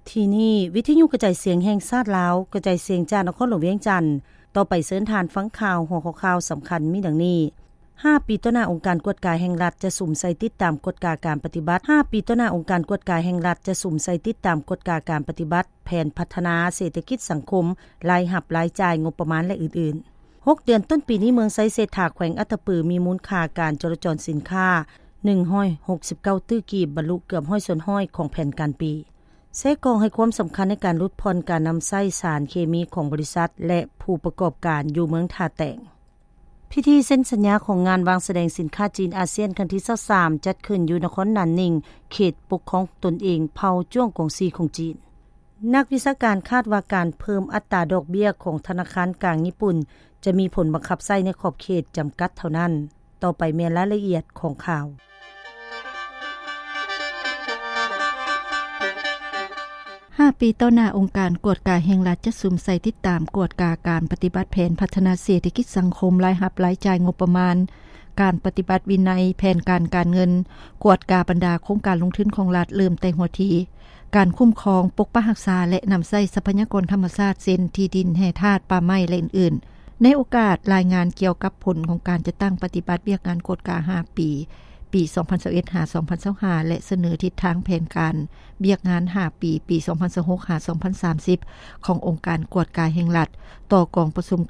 ທີ່ນີ້ ວິທະຍຸກະຈາຍສຽງແຫ່ງຊາດລາວ ກະຈາຍສຽງຈາກນະຄອນຫຼວງວຽງຈັນ. ຕໍ່ໄປເຊີນທ່ານຟັງຂ່າວ ຫົວຂໍ້ຂ່າວສຳຄັນມີດັ່ງນີ້: ຫ້າປີຕໍ່ໜ້າ ອົງການກວດກາແຫ່ງລັດຈະສຸມໃສ່ຕິດຕາມກວດກາການປະຕິບັດ. ຫ້າປີຕໍ່ໜ້າ ອົງການກວດກາແຫ່ງລັດຈະສຸມໃສ່ຕິດຕາມກວດກາການປະຕິບັດແຜນພັດທະນາເສດຖະກິດສັງຄົມ, ລາຍຮັບ, ລາຍຈ່າຍ, ງົບປະມານ ແລະ ອື່ນໆ. ຫົກເດືອນຕົ້ນປີນີ້ ເມືອງໄຊເສດຖາ ແຂວງອັດຕະປື ມີມູນຄ່າການຈໍລະຈອນສິນຄ້າ ໜຶ່ງຮ້ອຍຫົກສິບເກົ້າຕື້ກີບ, ບັນລຸເກືອບຮ້ອຍສ່ວນຮ້ອຍຂອງແຜນການປີ. ແຊກອງໃຫ້ຄວາມສຳຄັນໃນການຫຼຸດຜ່ອນການນຳໃຊ້ສານເຄມີຂອງບໍລິສັດ ແລະ ຜູ້ປະກອບການຢູ່ເມືອງທ່າແຕງ. ພິທີເຊັນສັນຍາຂອງງານວາງສະແດງສິນຄ້າຈີນອາຊຽນຄັ້ງທີຊາວສາມ ຈັດຂຶ້ນຢູ່ນະຄອນໜານໜິງ, ເຂດປົກຄອງຕົນເອງເຜົ່າຈວງກວາງຊີຂອງຈີນ. ນັກວິຊາການຄາດວ່າການເພີ່ມອັດຕາດອກເບ້ຍຂອງທະນາຄານກາງຍີ່ປຸ່ນຈະມີຜົນບັງຄັບໃຊ້ໃນຂອບເຂດຈຳກັດເທົ່ານັ້ນ. ຕໍ່ໄປແມ່ນລາຍລະອຽດຂອງຂ່າວ. ຫ້າປີຕໍ່ໜ້າ ອົງການກວດກາແຫ່ງລັດຈະສຸມໃສ່ຕິດຕາມກວດກາການປະຕິບັດແຜນພັດທະນາເສດຖະກິດສັງຄົມ, ລາຍຮັບ, ລາຍຈ່າຍ, ງົບປະມານ, ການປະຕິບັດວິໄນ, ແຜນການການເງິນ, ກວດກາບັນດາໂຄງການລົງທຶນຂອງລັດ ເລີ່ມແຕ່ຫົວທີ, ການຄຸ້ມຄອງ, ປົກປັກຮັກສາ ແລະ ນຳໃຊ້ຊັບພະຍາກອນທຳມະຊາດ ເຊັ່ນ ທີ່ດິນ, ແຮ່ທາດ, ປ່າໄມ້ ແລະ ອື່ນໆ. ໃນໂອກາດລາຍງານກ່ຽວກັບຜົນຂອງການຈັດຕັ້ງປະຕິບັດວຽກງານກວດກາຫ້າປີ ປີສອງພັນຊາວເອັດ ຫາ ສອງພັນຊາວຫ້າ ແລະ ສະເໜີທິດທາງແຜນການວຽກງານຫ້າປີ ປີສອງພັນຊາວຫົກ ຫາ ສອງພັນສາມສິບ ຂອງອົງການກວດກາແຫ່ງລັດ ຕໍ່ກອງປະຊຸມ